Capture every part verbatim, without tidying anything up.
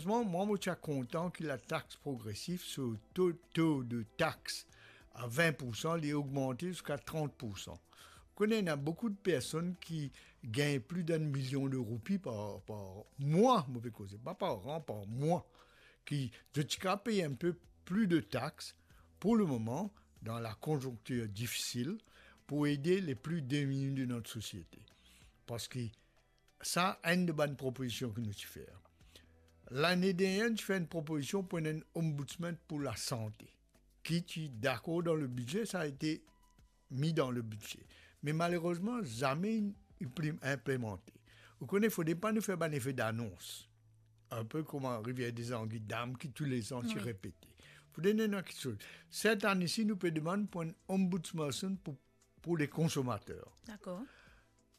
Malerezman, mwa, mo ti a kontan ki latax progresif, so to, to de tax a vin poursan, li ogmante ziska trant poursan. Ou kone, ena boukou de personn ki gagn plis d'enn milion de roupi par, par mwa, mo pe koze, pa par an, par mwa, ki zot ti kapav pey enn pe plis de tax pou lemoman, dan la konzonktir difisil, pou ede le pli demini de not sosiete. Parski sa, enn de bann propozision ki nou ti fer. Lane dernie, nou ti fer enn propozision pou enn ombudsman pou lasante, ki ti dakor dan le bidze, sa a ete mi dan le bidze. Me malerezman, zame inn inpli-, inplimante. Ou kone, fode pa nou fer bann efe danons. Enn pe kouma Rivière des Anguilles Dam ki toulezan ti Wi. repete. Pou donn enn kiksoz. Set ane si, nou pe demann pou enn ombudsperson pou, pou le konsomater. Dakor.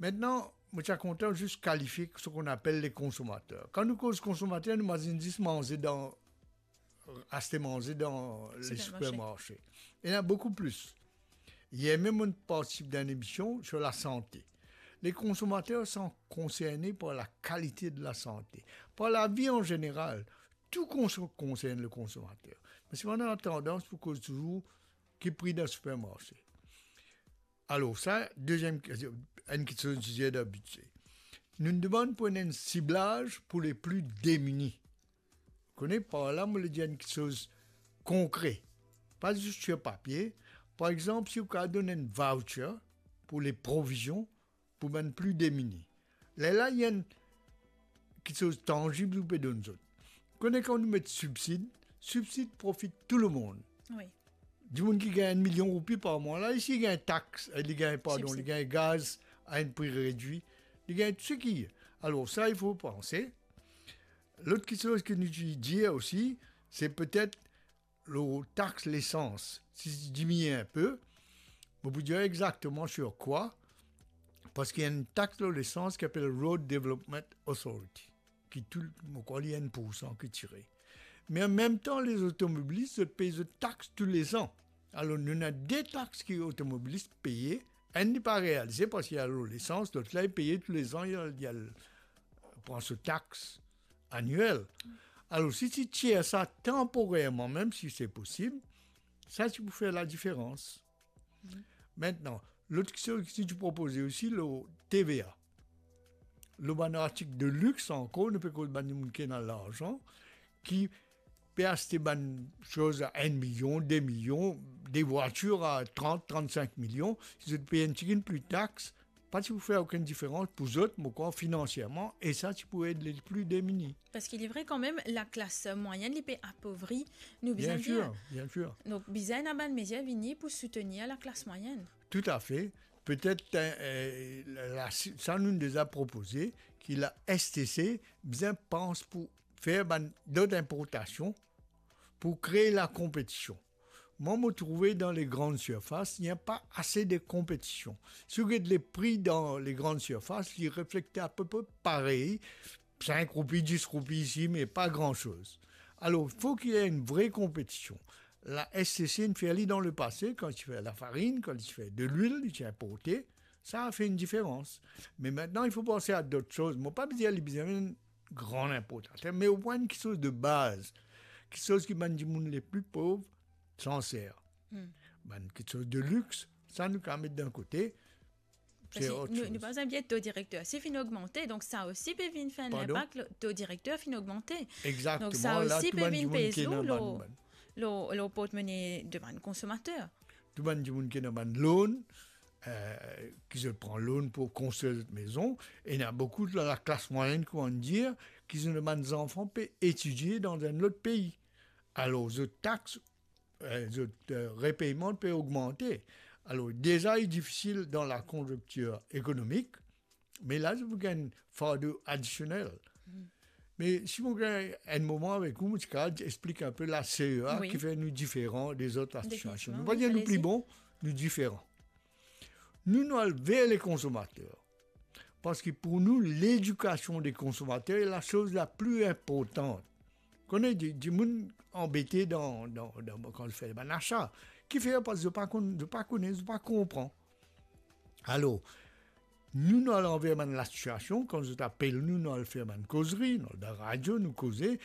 Aster, mo ti a kontan zis kalifie ce qu'on appelle les consommateurs. Kan nou koz konsomater, nou imazinn zis manze dan, aste manze dan le Sipermarse. sipermarse. Ena boukou plis. Yer mem, mo partisip dan enn emision sur lasante. Les consommateurs sont concernés par la qualité de la santé, par la vie en général. Tout konso-, konsern le konsomater. Me si nou ena tandans pou koz touzour ki pri dan sipermarse. Alor, sa, deziem, enn kiksoz nou dir dan bidze. Nou demann pou enn siblaz pou le pli demini. Kone, par la, mo le dir enn kiksoz konkre. Pa zis lor papie. Par exanp, si ou kapav donn enn voucher pou le provizion pou bann pli demini. Lerla, ena enn kiksoz tanzib ou pe donn zot. Kone kan nou met sibsid, sibsid profit tou lemonn. Wi. Dimoun ki gagn enn milion roupi par mwa la, si li gagn tax, eh, li gagn, pardon, Sibsid. li gagn gaz a enn pri redwir, li gagn tou seki. Alor sa, il faut penser. Lot kiksoz ki nou dir osi, se petet lor tax lesans, si li diminie enn pe, mo pou dir exakteman sur kwa, parski ena enn tax lor lesans ki apel Road Development Authority, ki tou, mo krwar li enn poursan ki tire. Me an mem tan, les automobilistes, zot pey zot tax toulezan. Alor, nou ena de tax ki otomobilis peye, enn li pa realize parski li al lor lesans, lot la, li peye toulezan, li al, li al pran so tax aniel. Alor, si ti tir sa tanporerman, mem si se posib, sa ti pou fer ladiferans. Aster, lot kiksoz ki ti propoze osi, lor T V A. Lor bann artik de lix ankor, nou pe koz bann dimoun ki ena larzan, ki pe aste bann soz a enn milion, de milion, de vwatir a trant, trannsink milion, si zot pey enn tigit plis tax, pa ti pou fer okenn diferans pou zot, mo krwar, finansierman, e sa ti pou ed le pli demini. Parski li vre kanmem, laklas mwayenn, li pe apovri, nou Bien bizin dir. sir, bien sir. Donk, bizin ena bann mezir vini pou soutenir laklas mwayenn. Toutafe. Petet, eh, la, la, sa nou deza propoze, ki la S T C bizin pans pou fer bann dot inportasion pou kree lakonpetision. Mwa, mo trouve dan le grann sirfas, ena pa ase de konpetision. Si ou get le pri dan le grann sirfas, li reflekte apepre parey, sink roupi, dis roupi isi, me pa gran soz. Alor, fok ena enn vre konpetision. La S T C inn fer li dan lepase, kan li ti fer lafarinn, kan li ti fer delwil, li ti inporte, sa a fer enn diferans. Me aster, il faut penser à d'autres choses. Mo pa bizin, li bizin enn gran inportater, me omwin kiksoz de baz, kiksoz ki bann dimoun le pli pov ti anser. Hmm. Bann kiksoz de lix, sa nou kapav met dan kote. Parski se ot nou, soz. Nou pa bizin bliye to direkter si finn ogmante, donk sa osi pe vinn fer enn Pardon? linpak, lo-, to direkter finn ogmante. Exakteman, Donk sa la, osi tou pe bann vinn dimoun pez ki ena lou, bann, lou, bann lou portmone de bann konsomater. Tou bann dimoun ki ena bann loan, eh, ki zot pran loan pou konstrir zot mezon, e ena boukou de laklas mwayenn, kouma nou dir, ki zot bann zanfan pe etidie dan enn lot pei. Alor, zot tax, eh, zot, eh, repeyman pe ogmante. Alor, deza, li difisil dan lakonzonktir ekonomik, me la, zot pou gagn fardo adisionel. Hmm. Me si mo gagn enn moman avek ou, mo ti kapav explik enn pe la C E A Wi. ki fer nou diferan dezot Dezot, asosiasion. wi, Nou pa dir nou alezi. pli bon, nou diferan. Nou, nou al ver le konsomater. Parski pou nou, ledikasion de konsomater e la soz la pli inportan. Kone, di-, dimoun anbete dan, dan, dan, kan fer bann asa. Kifer? Parski zot pa konn, zot pa kone, zot pa konpran. Alor, nou, nou al anver bann lasosiasion, kan zot apel nou, nou al fer bann kozri, nou al dan radio, nou koze,